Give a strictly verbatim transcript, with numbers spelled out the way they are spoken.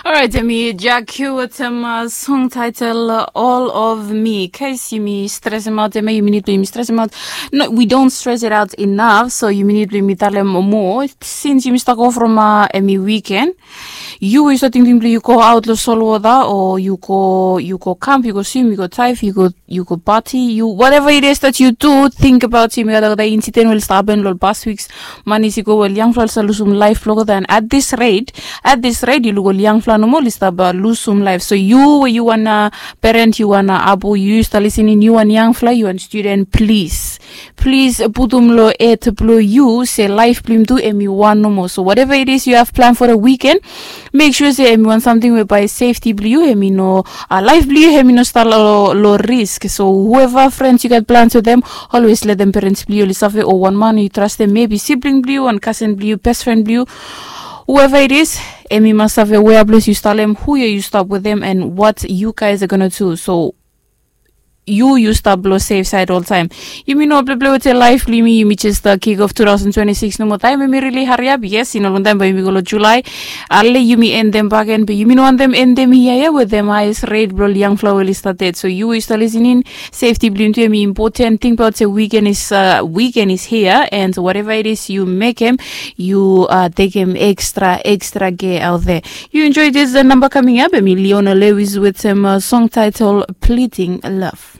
Alright, yumi Jack Q wetem song title All of Me. Kais yumi stress em out, yumi need blong yumi stress em out. No, we don't stress it out enough, so yumi need blong yumi talem moa. Since yumi start go from uh, emi weekend, yu we yu start tingting blong yu go out lo salt water, o yu go yu go camp, yu go swim, yu go dive, yu go yu go party, yu whatever it is that you do, think about him. Yu gat olgeta incident we oli stap happen lo past weeks. Manis i go we ol yangfala oli stap lusum laef blong olgeta, and at this rate, at this rate yu luk ol yangfala nomo oli stap uh, lusum laef. So yu we yu wan uh, parent, yu wan uh, abu, yu stap listening, yu wan yangfala, yu wan student, please, please putum lo ed blong yu se laef blong yumi tu emi wan nomo. So whatever it is you have plan for the weekend, make sure se emi wan samting we bae safety blong yu emi no uh, laef blong yu emi no stap lo, lo risk. So whoever friends yu gat plans wetem, always letem parents blong yu oli save, o wan man yu trastem, maybe sibling blong yu, wan kasen blong yu, best friend blong yu, whoever it is, emi mas save wea ples yu stap lo hem, hu ya yu stap wetem, and what you guys are gonna do. So yu yu stap lo safe side oltaem. Yumi no pleplei wetem laef blong yumi, yumi just uh, kick off two thousand twenty-six nomo taem, emi really hariap. Yes, i no longtaem bae yumi go lo July. Ale yumi endem bakegen, be yumi no wantem endem hia ya wetem highest rate blong ol yangfala we oli stap ded. So yu we yu stap listening, safety blong yumi tu emi important. Tingbaot se weekend is uh, weekend is here, and whatever it is yu mekem, yu uh, tekem extra extra care out there. Yu enjoy this uh, number coming up, emi Leona Lewis wetem uh, song title Pleading Love.